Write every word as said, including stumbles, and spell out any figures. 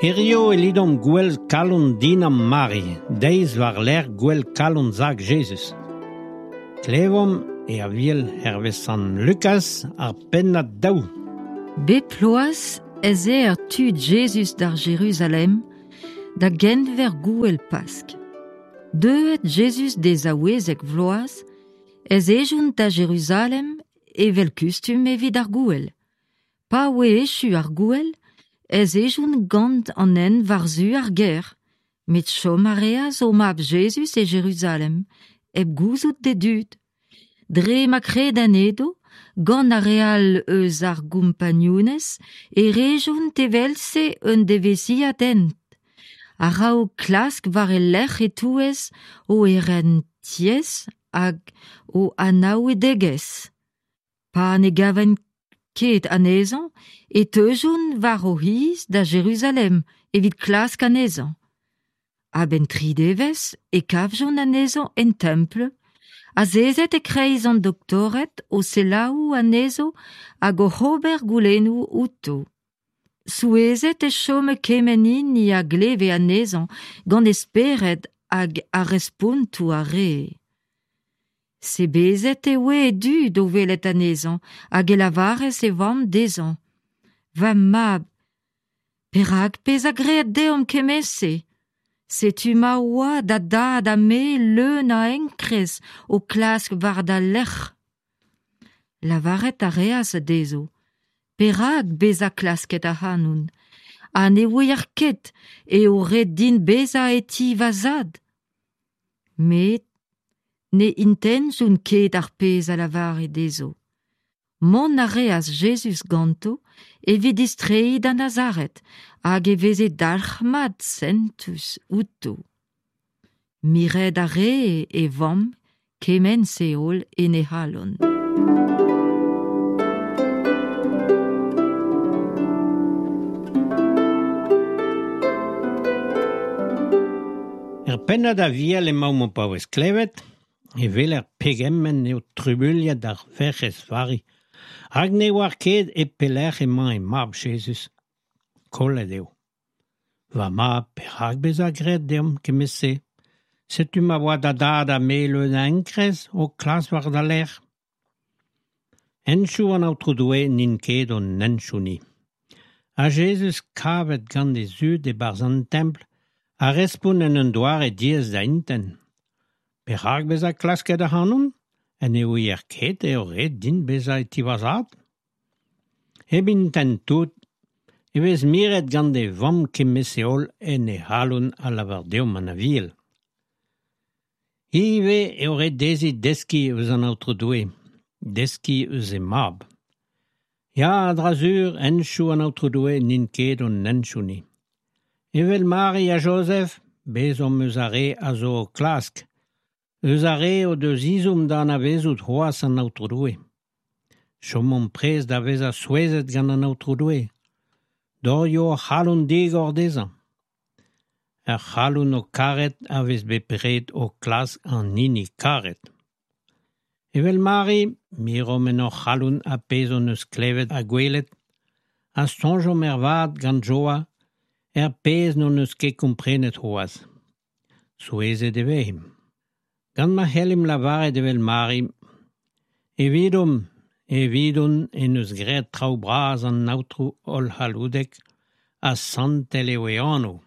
Hirio e lidomp gwell kalon dinam Mari, deiz war lerc'h gwell kalon zag Jezuz. Klevomp e aviel hervez Sant Lukas ar pennad daou. Bep ploaz ez eo tud Jezuz d'ar Jeruzalem da genver gouel Pask. Deuet Jezuz d'e zaouezek vloaz ez ejont da Jeruzalem evel kustum evit ar gouel. Pa oe echu ar gouel, ez ejont gant an hent war-zu ar gêr, met chom a reas o mab Jezuz e Jeruzalem, hep gouzout d'e dud. Dre ma kredenn edo, gant ar re all eus ar gompagnunez, e rejont evel-se un devezhiad hent. A-raok klask war e lerc'h e-touez o erentiez hag o anaoudegezh. Pa ne gavent ket anezhañ e teujont war o c'hiz da Jeruzalem evit klask anezhañ. A-benn tri devezh e kavjont anezhañ en templ, azezet e-kreiz an doktored o selaou anezho hag oc'h ober goulennoù outo. Souezhet e chome kement hini a gleve anezhañ gant e spered hag ar respontoù a rae. Sebezet e oe e dud o welet anezhañ hag e lavaras e vamm dezhañ. Va mab, perak bezañ graet deomp kement-se? Setu ma oa da dad ha me leun a enkrez o klask war da lerc'h. Lavaret a reas dezho. Perak bezañ klasket ac'hanon? Ha ne ouier ket eo ret din bezañ e ti va zad. Met ne intentjont ket ar pezh a lavare dezho. Mont a reas Jezuz ganto evit distreiñ da Nazaret hag e veze dalc'hmat sentus outo. Miret a rae e vamm kement-se holl en he c'halon. Er pennad aviel emaomp o paouez klevet, e weler pegement eo trubuilhet ar Werc'hez Vari, hag ne oar ket e pelec'h emañ e mab Jezuz. Kollet eo. Va mab, perak bezañ graet deomp kement-se? Setu ma oa da dad ha me leun a enkrez o klask war da lerc'h. Henchoù an Aotrou Doue n'int ket hon henchoù-ni. Ha Jezuz kavet gant e zud e-barzh an templ a respont en un doare diaes da intent. Perak bezañ klasket ac'hanon? Ha ne ouier ket eo ret din bezañ e ti va zad? Hep intent tout, e vez miret gant e vamm kement-se holl en he c'halon a lavar deomp an Aviel. Ivez eo ret dezhi deskiñ eus an Aotrou Doue, deskiñ eus he mab. Ya, a-dra-sur, henchoù an Aotrou Doue n'int ket hon henchoù-ni. Evel Mari ha Jozef, bezomp eus ar re a zo o klask, eus ar re o deus ezhomm da anavezout c'hoazh an Aotrou Doue. Chomomp prest da vezañ souezhet gant an Aotrou Doue. Dorioù hor c'halon digor dezhañ. Ar c'halon o karet a vez bepred o klask an hini karet. Evel Mari, miromp en hor c'halon ar pezh hon eus klevet ha gwelet, ha soñjomp ervat gant joa er pezh n'hon eus ket komprenet c'hoazh. Souezhet e vezimp. Gant ma c'hellimp lavaret evel Mari, evidomp, evidon en deus graet traoù bras an Aotrou hollc'halloudek ha santel eo e anv.